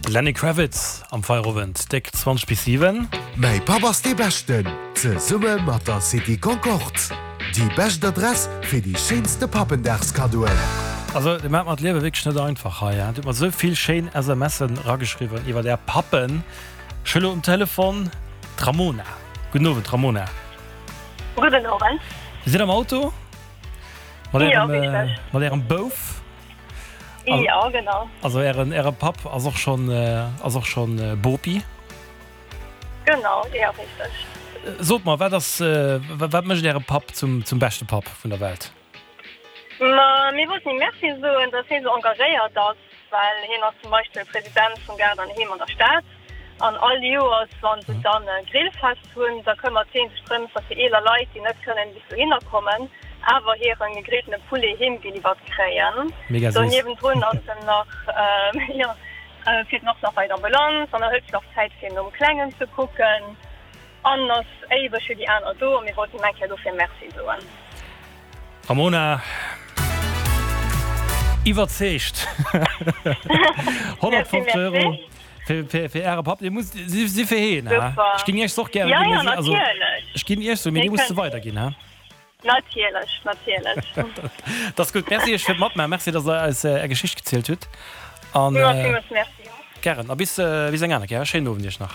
De Lenny Kravitz am Feierowend, déck 20 bis 7. Mäi Papp ass dee Beschten! Zesumme mat der City Concorde. Déi bescht Adress fir déi schéinste Pappendagskaddoen. Also dir maacht mer d'Liewe wierklech net einfach hei. Dir hutt mer esou vill schéin SMSen erageschriwwen iwwert är Pappen. Ech hu lo um Telefon d'Ramona. Gudden Owend Ramona. Gudden Owend. Dir sidd am Auto mat ärem, mat ärem Bouf. Jo, genau. Also ären, äre Papp ass och schonn, ass och schonn Bopi. Genau, jo, richteg. Sot mer, wat ass, wat mécht äre Papp zum, zum beschte Papp vun der Welt? Ma mir wollten him Merci soen, dass hie sou engagéiert ass, well hien ass zum Beispill President vum Gaart an Heem an der Stad an all Joers, wa se dann e Grillfest hunn, da këmmert hie sech drëms, dass déi eeler Leit, déi net kënnen bis dohinner kommen, awer hiren gegrilltene Poulet heem geliwwert kréien. Mega Do séiss. niewendrun ass en nach, jo, fiert en och nach bei d'Ambulanz an er hëlt sech och Zäit fir nom Klengen ze kucken an ass éiweg fir déi aner do a mir wollten him eng Kéier dofir Merci soen. Ramona, iwwerzeegt! 150 Euro fir Äre Papp. Dir musst si fir heen, ha? Ech ginn Iech se och gären ginn, mee si, also ech ginn Iech se, mee Dir musst se weiderginn, ha? Natierlech, natierlech. Dat ass gutt. Merci Iech fir d'Matmaachen. Merci, datt Der eis Är Geschicht gezielt hutt. An Villmools Merci. gären. A bis, bis eng aner Kéier. Schéinen Owend Iech nach.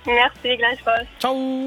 Merci, gläichfalls. Ciao!